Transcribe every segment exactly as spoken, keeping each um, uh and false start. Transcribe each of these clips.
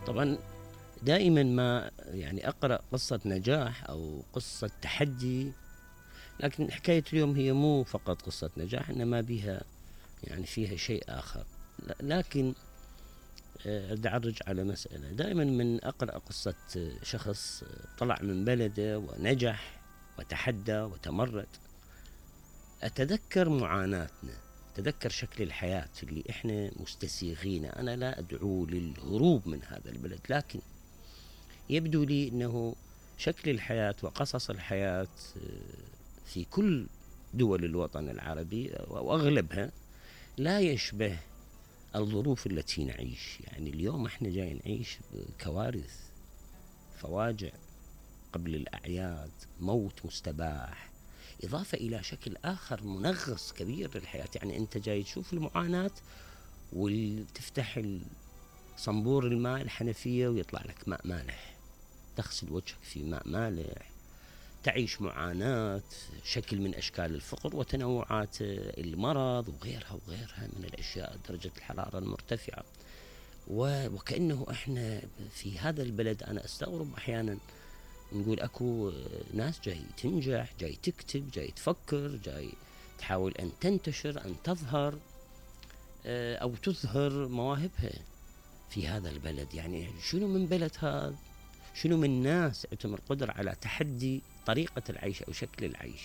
طبعا دائما ما يعني أقرأ قصة نجاح أو قصة تحدي، لكن حكاية اليوم هي مو فقط قصة نجاح، إنما بها يعني فيها شيء آخر. لكن أدعرج على مسألة، دائما من أقرأ قصة شخص طلع من بلده ونجح وتحدى وتمرد، أتذكر معاناتنا، أتذكر شكل الحياة اللي إحنا مستسيغينه. أنا لا أدعو للهروب من هذا البلد، لكن يبدو لي أنه شكل الحياة وقصص الحياة في كل دول الوطن العربي وأغلبها لا يشبه الظروف التي نعيش. يعني اليوم احنا جاي نعيش بكوارث، فواجع قبل الأعياد، موت مستباح، إضافة إلى شكل آخر منغص كبير للحياة. يعني أنت جاي تشوف المعاناة وتفتح صنبور الماء الحنفية ويطلع لك ماء مالح، تغسل وجهك في ماء مالح، تعيش معاناة، شكل من أشكال الفقر وتنوعات المرض وغيرها وغيرها من الأشياء، درجة الحرارة المرتفعة. وكأنه إحنا في هذا البلد، أنا أستغرب أحيانا نقول أكو ناس جاي تنجح، جاي تكتب، جاي تفكر، جاي تحاول أن تنتشر، أن تظهر أو تظهر مواهبها في هذا البلد. يعني شنو من بلد هذا؟ شنو من ناس عندهم القدرة على تحدي طريقة العيش أو شكل العيش؟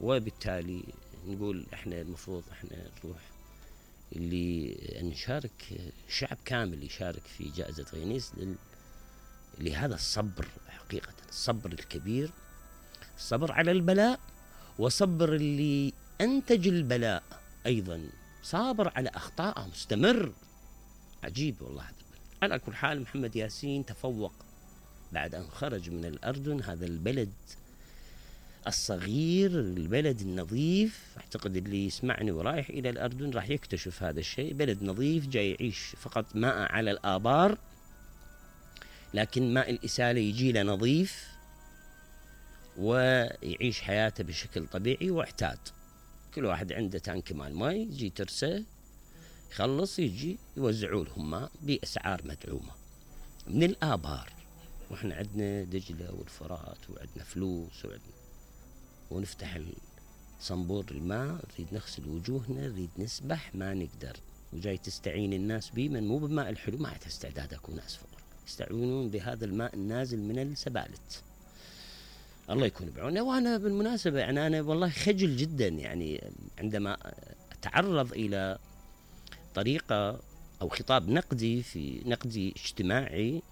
وبالتالي نقول إحنا المفروض إحنا نروح اللي نشارك، شعب كامل يشارك في جائزة غينيس لهذا الصبر، حقيقة الصبر الكبير، الصبر على البلاء، وصبر اللي أنتج البلاء أيضا، صابر على أخطائه، مستمر. عجيب والله هذا البلد. على كل حال محمد ياسين تفوق بعد أن خرج من الأردن، هذا البلد الصغير، البلد النظيف. أعتقد اللي يسمعني ورايح إلى الأردن راح يكتشف هذا الشيء، بلد نظيف جاي يعيش فقط ماء على الآبار، لكن ماء الإسالة يجي له نظيف ويعيش حياته بشكل طبيعي واعتاد. كل واحد عنده تانك مال ماء، يجي ترسه يخلص يجي يوزعوا لهم ماء بأسعار مدعومة من الآبار. وإحنا عندنا دجلة والفرات وعندنا فلوس وعندنا، ونفتح صنبور الماء، نريد نغسل وجوهنا، نريد نسبح، ما نقدر. وجاي تستعين الناس بي من مو بالماء الحلو، ما عندها استعداد أكون ناس فقر، يستعينون بهذا الماء النازل من السبالت. الله يكون بعونه. وأنا بالمناسبة يعني أنا والله خجل جدا يعني عندما أتعرض إلى طريقة أو خطاب نقدي في نقدي اجتماعي،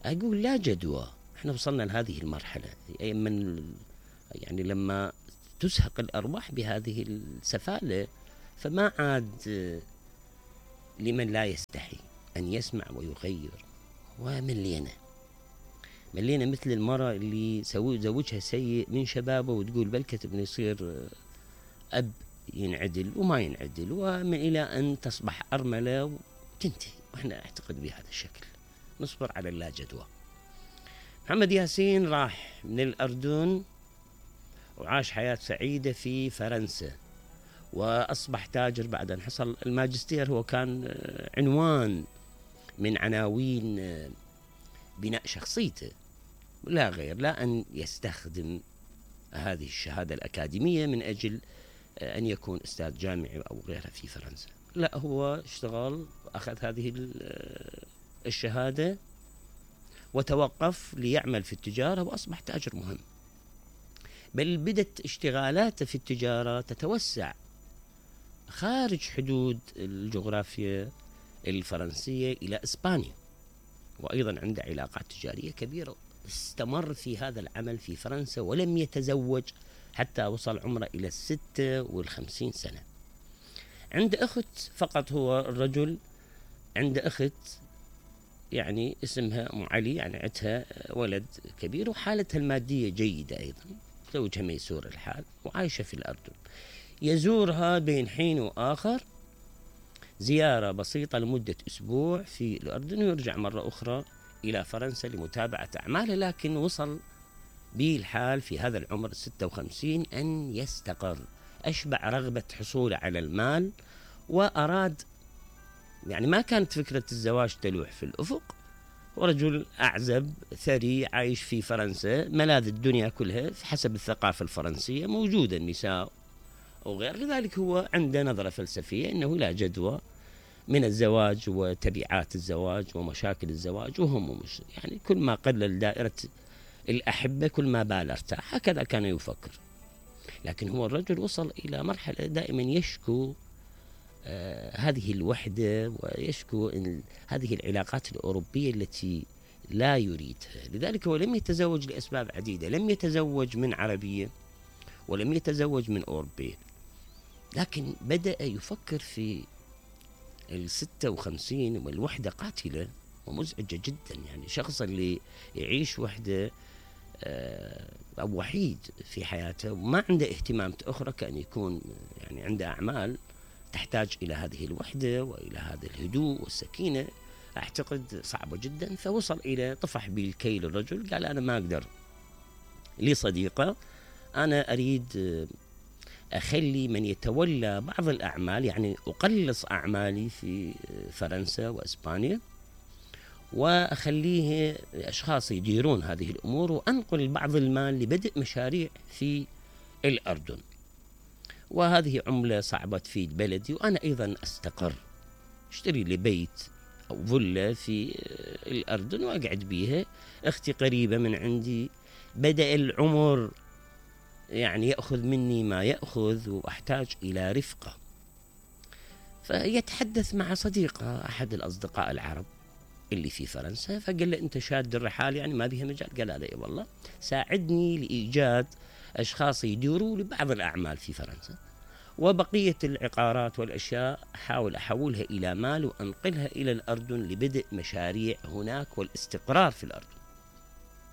أقول لا جدوى. إحنا وصلنا لهذه المرحلة من يعني لما تزهق الأرواح بهذه السفالة، فما عاد لمن لا يستحي أن يسمع ويغير. وملينا ملينا مثل المرأة اللي زوجها سيء من شبابه وتقول بل كتب يصير أب ينعدل وما ينعدل، ومن إلى أن تصبح أرملة وتنتهي. وإحنا أعتقد بهذا الشكل، نصبر على اللا جدوى. محمد ياسين راح من الأردن وعاش حياة سعيدة في فرنسا، وأصبح تاجر بعد أن حصل الماجستير. هو كان عنوان من عناوين بناء شخصيته، لا غير، لا أن يستخدم هذه الشهادة الأكاديمية من أجل أن يكون أستاذ جامعي أو غيرها في فرنسا. لا، هو اشتغل، أخذ هذه الشهادة وتوقف ليعمل في التجارة وأصبح تاجر مهم. بل بدت اشتغالاته في التجارة تتوسع خارج حدود الجغرافيا الفرنسية إلى إسبانيا، وأيضا عنده علاقات تجارية كبيرة. استمر في هذا العمل في فرنسا ولم يتزوج حتى وصل عمره إلى الستة والخمسين سنة. عنده أخت فقط، هو الرجل عنده أخت يعني اسمها أم علي، يعني عندها ولد كبير وحالتها المادية جيدة أيضا، زوجها ميسور الحال وعايشة في الأردن. يزورها بين حين وآخر زيارة بسيطة لمدة أسبوع في الأردن، ويرجع مرة أخرى إلى فرنسا لمتابعة أعماله. لكن وصل به الحال في هذا العمر ستة وخمسين أن يستقر، أشبع رغبة حصوله على المال، وأراد يعني ما كانت فكرة الزواج تلوح في الأفق. ورجل أعزب ثري عايش في فرنسا، ملاذ الدنيا كلها حسب الثقافة الفرنسية موجودة النساء وغير. لذلك هو عنده نظرة فلسفية أنه لا جدوى من الزواج وتبعات الزواج ومشاكل الزواج، وهم مش يعني كل ما قلل دائرة الأحبة كل ما بال ارتاح، هكذا كان يفكر. لكن هو الرجل وصل إلى مرحلة دائما يشكو آه هذه الوحدة، ويشكو هذه العلاقات الأوروبية التي لا يريدها. لذلك هو لم يتزوج لأسباب عديدة، لم يتزوج من عربية ولم يتزوج من أوروبية، لكن بدأ يفكر في الستة وخمسين والوحدة قاتلة ومزعجة جدا. يعني شخص اللي يعيش وحدة أو وحيد في حياته وما عنده اهتمامات أخرى، كأن يكون يعني عنده أعمال تحتاج إلى هذه الوحدة وإلى هذا الهدوء والسكينة، أعتقد صعبة جدا. فوصل إلى طفح بالكيل الرجل، قال أنا ما أقدر، لي صديقة أنا أريد أخلي من يتولى بعض الأعمال، يعني أقلص أعمالي في فرنسا وإسبانيا وأخليه أشخاص يديرون هذه الأمور، وأنقل بعض المال لبدء مشاريع في الأردن، وهذه عملة صعبة تفيد بلدي، وأنا أيضا أستقر، اشتري لي بيت أو فيلا في الأردن وأقعد بيها، أختي قريبة من عندي، بدأ العمر يعني يأخذ مني ما يأخذ وأحتاج إلى رفقة. فيتحدث مع صديقة أحد الأصدقاء العرب اللي في فرنسا، فقال له أنت شاد الرحال يعني ما بيها مجال؟ قال لا والله، ساعدني لإيجاد أشخاص يديروا لبعض الأعمال في فرنسا، وبقية العقارات والأشياء أحاول أحولها إلى مال وأنقلها إلى الأردن لبدء مشاريع هناك والاستقرار في الأردن.